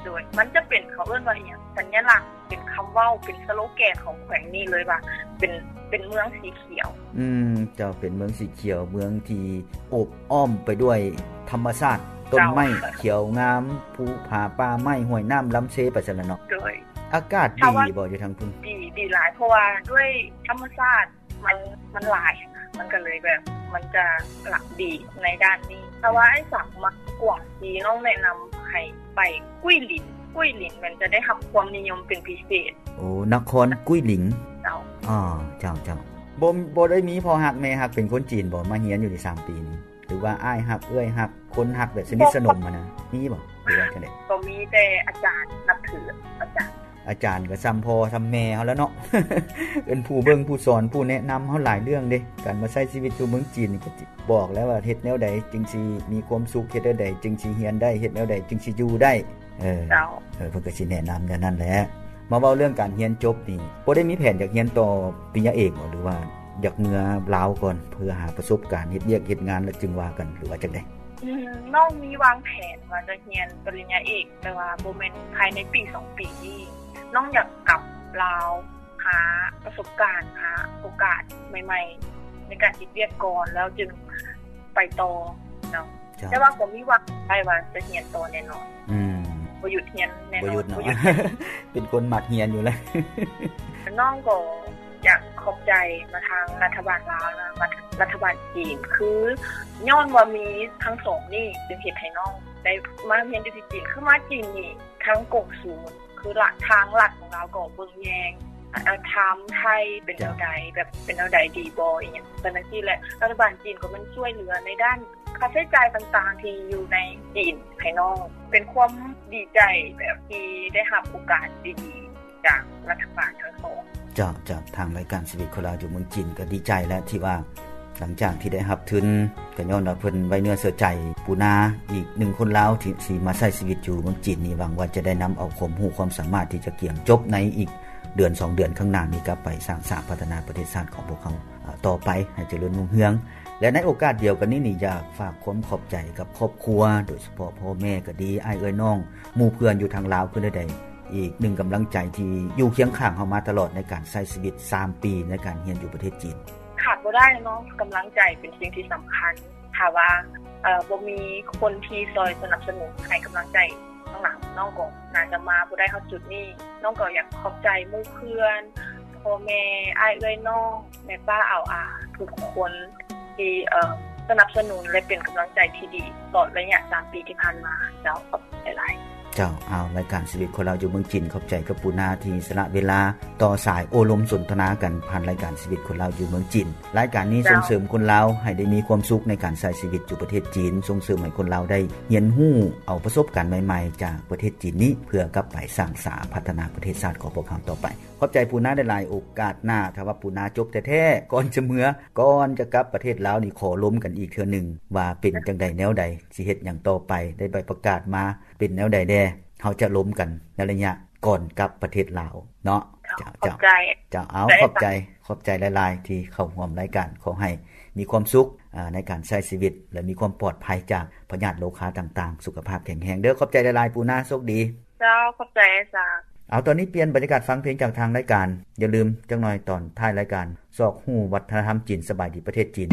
ໂດຍມັນຈະເປັນ ເຂົາເອີ້ນວ່າຫຍັງ ສັນຍະລັກ ເປັນຄຳເວົ້າ ເປັນສະໂລແກນຂອງແຂວງນີ້ເລີຍວ່າ ເປັນ ເປັນເມືອງສີຂຽວ. ອືມ ເຈົ້າ ເປັນເມືອງສີຂຽວ ເມືອງທີ່ໂອບອ້ອມໄປດ້ວຍທຳມະຊາດ ຕົ້ນໄມ້ຂຽວງາມ ພູຜາປ່າໄມ້ ຫ້ວຍນ້ຳລຳເຊ ໄປຊັ້ນລະເນາະ. ໂດຍ ອາກາດດີບໍ່ຢູ່ທາງພຸ້ນ? ດີ ດີຫຼາຍ ເພາະວ່າດ້ວຍທຳມະຊາດ ມັນ ມັນຫຼາຍ ມັນກໍເລີຍແບບ ມັນຈະລະດີໃນດ້ານນີ້. ແຕ່ວ່າອ້າຍສັກມັກກວາງຊີ ນ້ອງແນະນຳໃຫ້ໄປກຸ້ຍຫຼີນ. ກຸ້ຍຫຼີນມັນຈະໄດ້ຮັບຄວາມນິຍົມເປັນພິເສດ. ໂອ້ ນະຄອນກຸ້ຍຫຼີນ. ເຈົ້າ. ອໍ ເຈົ້າ ເຈົ້າ. ບໍ່ ບໍ່ໄດ້ມີພໍ່ຮັກແມ່ຮັກເປັນຄົນຈີນບໍ່ ມາຮຽນຢູ່ນີ້ສາມປີນີ້? ຫຼືວ່າອ້າຍຮັກ ເອື້ອຍຮັກ ຄົນຮັກແບບສະໜິດສະໜົມຫັ້ນນະ ມີບໍ່ ຫຼືວ່າຈັ່ງໃດ? ກໍມີແຕ່ອາຈານ ນັບຖືອາຈານ. ອາຈານກໍສ່ຳພໍ່ສ່ຳແມ່ເຮົາແລ້ວເນາະ ເປັນຜູ້ເບິ່ງຜູ້ສອນ ຜູ້ແນະນຳເຮົາຫຼາຍເລື່ອງເດ້. ການມາໃຊ້ຊີວິດຢູ່ເມືອງຈີນນີ້ ກໍບອກແລ້ວວ່າເຮັດແນວໃດຈຶ່ງຊິມີຄວາມສຸກ ເຮັດແນວໃດຈຶ່ງຊິຮຽນໄດ້ ເຮັດແນວໃດຈຶ່ງຊິຢູ່ໄດ້. ເອີ ເຈົ້າ. ເອີ ເພິ່ນກໍຊິແນະນຳແນວນັ້ນແຫຼະ. ມາເວົ້າເລື່ອງການຮຽນຈົບນີ້ ບໍ່ໄດ້ມີແຜນຢາກຮຽນຕໍ່ປະລິນຍາເອກບໍ່ ຫຼືວ່າຢາກເມືອລາວກ່ອນ ເພື່ອຫາປະສົບການເຮັດວຽກເຮັດງານ ແລ້ວຈຶ່ງວ່າກັນ ຫຼືວ່າຈັ່ງໃດ? ອືມ ນ້ອງມີວາງແຜນວ່າຈະຮຽນປະລິນຍາເອກ ແຕ່ວ່າບໍ່ແມ່ນພາຍໃນປີສອງປີນີ້. ນ້ອງຢາກກັບລາວ ຫາປະສົບການ ຫາໂອກາດໃໝ່ໆ ໃນການເຮັດວຽກກ່ອນ ແລ້ວຈຶ່ງໄປຕໍ່ເນາະ. ເຈົ້າ. ແຕ່ວ່າກໍມີຫວັງໄດ້ວ່າຈະຮຽນຕໍ່ແນ່ນອນ. ອືມ ບໍ່ຢຸດຮຽນແນ່ນອນ. ບໍ່ຢຸດເນາະ ບໍ່ຢຸດຮຽນ. ເປັນຄົນມັກຮຽນຢູ່ແລ້ວ. ນ້ອງກໍຢາກຂອບໃຈມາທາງລັດຖະບານລາວ ແລະ ລັດຖະບານຈີນ ຄືຍ້ອນວ່າມີທັງສອງນີ້ ຈຶ່ງເຮັດໃຫ້ນ້ອງໄດ້ມາຮຽນຢູ່ທີ່ຈີນ. ຄືມາຈີນນີ້ ທາງກົງສູນ ຄືລະ ທາງລັດຂອງລາວກໍເບິ່ງແຍງ ອາ ທາງໄທເປັນແນວໃດ ແບບເປັນແນວໃດດີບໍ່ ອີ່ຫຍັງໄປຈັ່ງຊີ້ແຫຼະ. ລັດຖະບານຈີນກໍແມ່ນຊ່ວຍເຫຼືອໃນດ້ານຄ່າໃຊ້ຈ່າຍຕ່າງໆ ທີ່ຢູ່ໃນຈີນໃຫ້ນ້ອງ. ເປັນຄວາມດີໃຈແບບທີ່ໄດ້ຮັບໂອກາດດີໆ ຈາກລັດຖະບານທັງສອງ. ເຈົ້າ ເຈົ້າ. ທາງລາຍການຊີວິດຄົນລາວຢູ່ເມືອງຈີນກໍດີໃຈແຫຼະ ທີ່ວ່າຫຼັງຈາກທີ່ໄດ້ຮັບທຶນ ກໍຍ້ອນວ່າເພິ່ນໄວ້ເນື້ອເຊື່ອໃຈ ປູນາ ອີກໜຶ່ງຄົນລາວທີ່ຊິມາໃຊ້ຊີວິດຢູ່ເມືອງຈີນນີ້ ຫວັງວ່າຈະໄດ້ນຳເອົາຄວາມຮູ້ຄວາມສາມາດທີ່ຈະກຽມຈົບໃນອີກເດືອນສອງເດືອນຂ້າງໜ້ານີ້ ກັບໄປສ້າງສາພັດທະນາປະເທດຊາດຂອງພວກເຮົາ ອາ ຕໍ່ໄປໃຫ້ຈະເລີນຮຸ່ງເຮືອງ. ແລະ ໃນໂອກາດດຽວກັນນີ້ນີ້ ຢາກຝາກຄວາມຂອບໃຈກັບຄອບຄົວ ໂດຍສະເພາະພໍ່ແມ່ກໍດີ ອ້າຍເອື້ອຍນ້ອງ ໝູ່ເພື່ອນຢູ່ທາງລາວຄືແນວໃດ ອີກໜຶ່ງກຳລັງໃຈທີ່ຢູ່ຄຽງຂ້າງເຮົາມາຕະຫຼອດໃນການໃຊ້ຊີວິດສາມປີໃນການຮຽນຢູ່ປະເທດຈີນ. ຂາດບໍ່ໄດ້ເນາະ ກຳລັງໃຈເປັນສິ່ງທີ່ສຳຄັນ. ຖ້າວ່າ ເອີ ບໍ່ມີຄົນທີ່ຊ່ອຍສະໜັບສະໜູນໃຫ້ກຳລັງໃຈຂ້າງຫຼັງ ນ້ອງກໍໜ້າຈະມາບໍ່ໄດ້ຮອດຈຸດນີ້. ນ້ອງກໍຢາກຂອບໃຈໝູ່ເພື່ອນ ພໍ່ແມ່ ອ້າຍເອື້ອຍນ້ອງ ແມ່ປ້າອາວອາ ທຸກຄົນທີ່ ເອີ ສະໜັບສະໜູນ ແລະ ເປັນກຳລັງໃຈທີ່ດີຕະຫຼອດໄລຍະສາມປີທີ່ຜ່ານມາ. ເຈົ້າ ຂອບໃຈຫຼາຍ. ເຈົ້າ. ເອົາ ລາຍການຊີວິດຄົນລາວຢູ່ເມືອງຈີນ ຂອບໃຈກັບປູນາທີ່ສະຫຼະເວລາຕໍ່ສາຍໂອ້ລົມສົນທະນາກັນ ຜ່ານລາຍການຊີວິດຄົນລາວຢູ່ເມືອງຈີນ. ລາຍການນີ້ ເຈົ້າ ສົ່ງເສີມຄົນລາວໃຫ້ໄດ້ມີຄວາມສຸກໃນການໃຊ້ຊີວິດຢູ່ປະເທດຈີນ, ສົ່ງເສີມໃຫ້ຄົນລາວໄດ້ຮຽນຮູ້ເອົາປະສົບການໃໝ່ໆຈາກປະເທດຈີນນີ້ ເພື່ອກັບໄປສ້າງສາພັດທະນາປະເທດຊາດຂອງພວກເຮົາຕໍ່ໄປ. ຂອບໃຈປູນາຫຼາຍໆ. ໂອກາດໜ້າ ຖ້າວ່າປູນາຈົບແທ້ໆ ກ່ອນຈະເມືອ ກ່ອນຈະກັບປະເທດລາວນີ້ ຂໍລົມກັນອີກເທື່ອໜຶ່ງ ວ່າເປັນຈັ່ງໃດແນວໃດ ຊິເຮັດຫຍັງຕໍ່ໄປ ໄດ້ໃບປະກາດມາເປັນແນວໃດແດ່ ເຮົາຈະລົມກັນໃນໄລຍະກ່ອນກັບປະເທດລາວເນາະ. ເຈົ້າ ເຈົ້າ ເຈົ້າ. ເອົາ ຂອບໃຈ ຂອບໃຈຫຼາຍໆ ທີ່ເຂົ້າຮ່ວມລາຍການ. ຂໍໃຫ້ມີຄວາມສຸກ ອາ ໃນການໃຊ້ຊີວິດ ແລະ ມີຄວາມປອດໄພຈາກພະຍາດໂລຄາຕ່າງໆ. ສຸຂະພາບແຂງແຮງເດີ້. ຂອບໃຈຫຼາຍໆ ປູນາ. ໂຊກດີ. ເຈົ້າ ຂອບໃຈອາຈານ. ເອົາ ຕອນນີ້ປ່ຽນບັນຍາກາດຟັງເພງຈາກທາງລາຍການ. ຢ່າລືມ ຈັກໜ້ອຍຕອນທ້າຍລາຍການ ຊອກຮູ້ວັດທະນະທຳຈີນ. ສະບາຍດີປະເທດຈີນ.